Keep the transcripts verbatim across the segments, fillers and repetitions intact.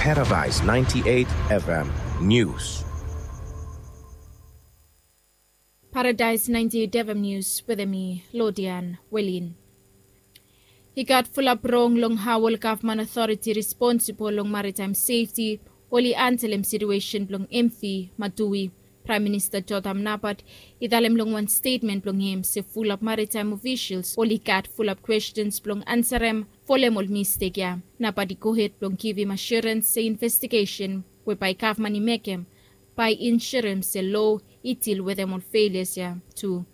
Paradise ninety-eight F M News. Paradise ninety-eight F M News wetem mi, Lodian Welin. I gat fulap rong long hao ol gavman otoriti responsibol long maritaem sefti oli antelem situesen blong M V Madui. Praem Minista Jotham Napat i talem long wan stetmen blong hem se fulap maritaem ofisels oli gat fulap kwestens blong ansarem folem ol mistek ya. Napat i gohed blong givim asurens se investigesen we bae gavman i mekem bae i insurem se loa i dil wetem ol felias ya tu.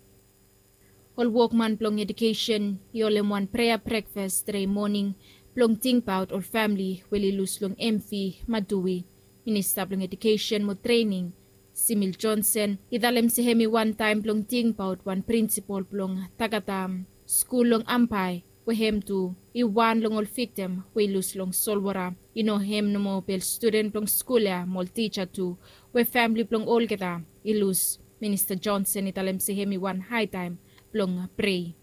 Ol wokman blong edukesen i holem wan prea brekfas tre moning blong tingbaot ol famili we oli lus long M V Madui. Minista blong Edukesen mo Trening, Simil Johnson, i talem se hem i wantaem blong tingbaot wan prinsipol blong Tagatam skul long Ambae, we hem tu i wan long ol viktim we i lus long solwota. I no hem nomo be ol studen blong skul ya mo ol tija tu, we famili blong olgeta i lus. Minista Johnson i talem se hem i wan haetaem blong prei.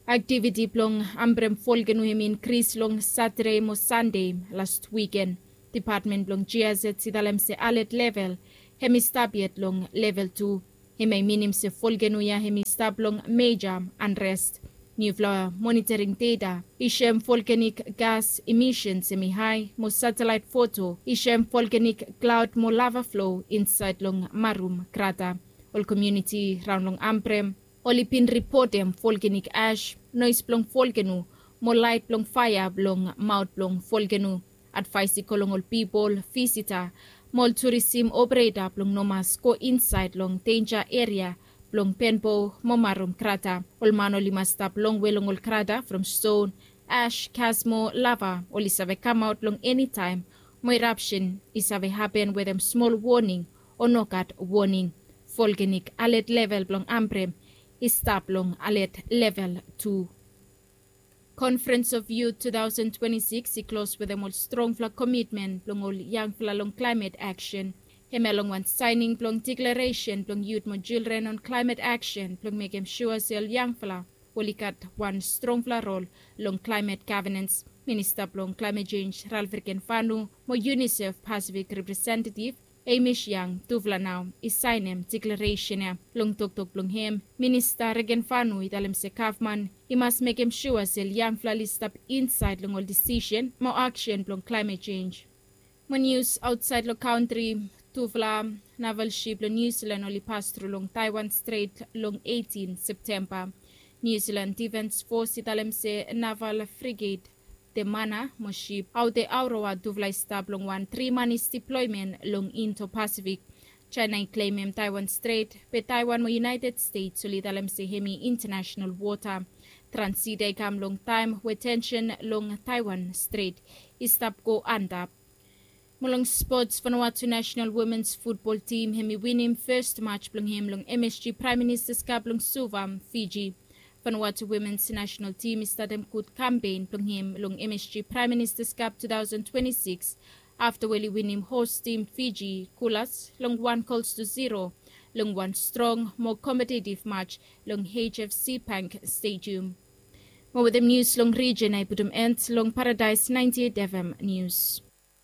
Aktiviti blong ambrem folkenu hem i inkris long Satade mo Sande las wiken. Dipatmen blong G I Z i talem se alet level hem i stap yet long level tu. Hem ya i minim se folkenu ya hem i stap long meja anrest. Niufala monitoring data i soem folkenik gas imisens hem i hae mo satelaet foto i soem folkenik klaod mo lava flo insaed long Marum krata. Ol komuniti raon long Ambrem oli bin ripotem folkenik ash, noes blong folkenu mo laet blong faea blong maot blong folkenu. Advaes i go long ol pipol, visita mo ol turisim opereta blong no mas go insaed long denja eria blong Penbo mo Marum krata. Ol man oli mas stap longwe long ol krata from ston, ash, gas mo lava oli save kamaot long enitaem mo erapsen i save hapen wetem smol woning o nogat woning. Folkenik alet level blong Ambrem i stap long alet level tu. Conference of Youth two thousand twenty-six i klos wetem ol strongfala komitmen blong ol yangfala long klaemet aksen. Hemia long wan saening blong deklaresen blong yut mo jildren on klaemet aksen blong mekem sua se ol yangfala oli gat wan strongfala rol long klaemet gavenans. Minista blong klaemet jenj Ralph Regenvanu mo UNICEF Pasifik representetiv Amish Yang tufala nao i saenem deklaresen ya. Long toktok blong hem, Minista Regenvanu i talem se gavman i mas mekem sua se ol yangfala oli stap insaed long ol disisen mo aksen blong klaemet jenj. Mo nius aotsaed long kantri, tufala naval sip blong Niu Silan oli pas tru long Taiwan Stret long eitin Septemba. Niu Silan Difens Fos i talem se naval frigate Temana mo sip Aotearoa tufala i stap long wan tri manis diploemen long Indo Pasifik. Jaena i klemem Taiwan Stret, be Taiwan mo United States oli talem se hem i intanasenal wota. Transit ya i kam long taem we tensen long Taiwan Stret i stap go antap. Mo long spots, Vanuatu nasenal womens futbol tim hem i winim fes maj blong hem long MSG Praem Ministas Kap long Suva, Fiji. Vanuatu womens nasenal tim i statem gud kampen blong hem long MSG Praem Ministas Kap two thousand twenty-six afta we oli winim hos tim Fiji, Kulas, long wan gols tu zero long wan strong mo kompetetiv maj long HFC Bank Stadium. Mo wetem nius long rijen, ae putum en long Paradaes ninety-eight FM Nius.